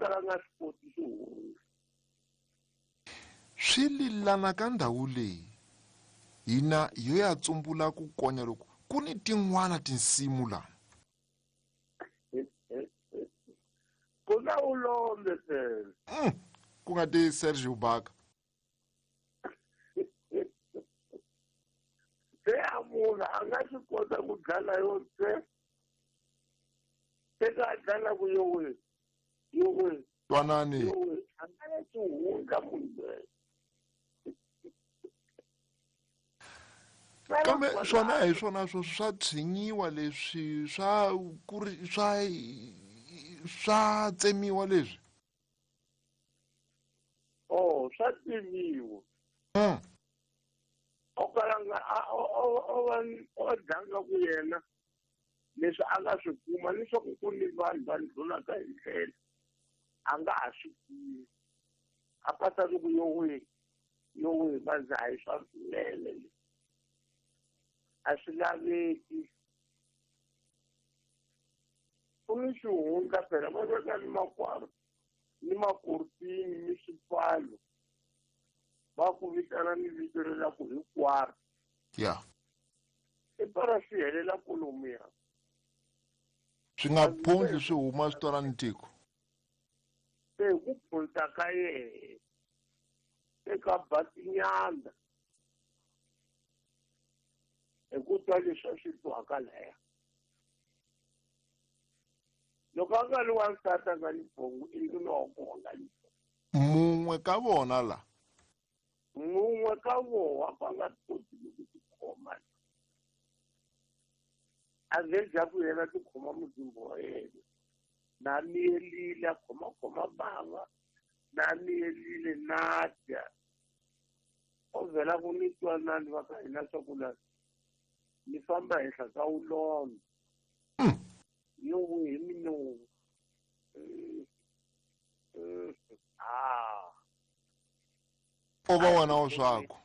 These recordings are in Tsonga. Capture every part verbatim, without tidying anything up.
kala nga swi koti xihundla. Swi lilana ka ndhawu leyi hina yo ya tsumbula ku konya loko ku ni tin'wana tinsimu la. Ku na ulombe phela. Mm, ku nga ti Sergio Baka. Se a munhu a nga swi kota ku dlala yo se se ka dlala ku yo we yo we twanani yo we a nga na xihundla munhu loyi. Kambe swona hi swona swo swa tshinyiwa leswi swa ku ri swa swa tsemiwa leswi. Oh, swa tsemiwa. Mm. O kala nga o o o o dlanga ku yena leswi a nga swi kuma leswaku ku ni vanhu va ndlulaka hi ndlela a nga ha swi tivi. A pasa ku yo we yo we va ndza hi swa swinene a swi laveki. Ku ni xihundla phela va veka ni makwaro ni makurutini ni swipfalo va ku vitana ni vito ri la ku hinkwaro. Ya. I para swi helela kolomuya. Swi nga phundli swi huma swi twala ni tiko. Se ku phunta ka yehe eka batinyana hi ku twa leswi a swi twaka laya. Loko a nga ri wansati a nga ni bongo i nuna wa kona ni bongo. Mun'we ka vona la. Mun'we ka vona va nga koti ku tikhoma. A nge dya ku yena tikhoma muzimba wa yena. Na miyelile a khoma khoma bava na miyelile na dya. O vhela ku ni twanani va ka hina swa ku la ni famba henhla ka ulombe. Yo we hi minomu. Ah. O va wena wa swaku.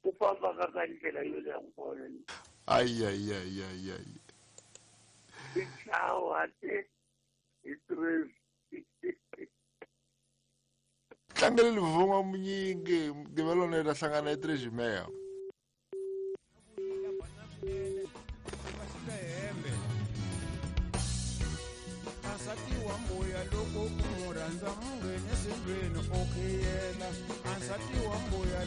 Ku famba ka ka ndlela yo leha ku vona. Ay ay ay ay ay. Tichawa te hi tres. Tlangele livhunga munyingi mugqivelo ni ta hlangana hi three Jimeya. Loko u mu rhandza mungheni sindlwini o khiyela ansati wa mbuya.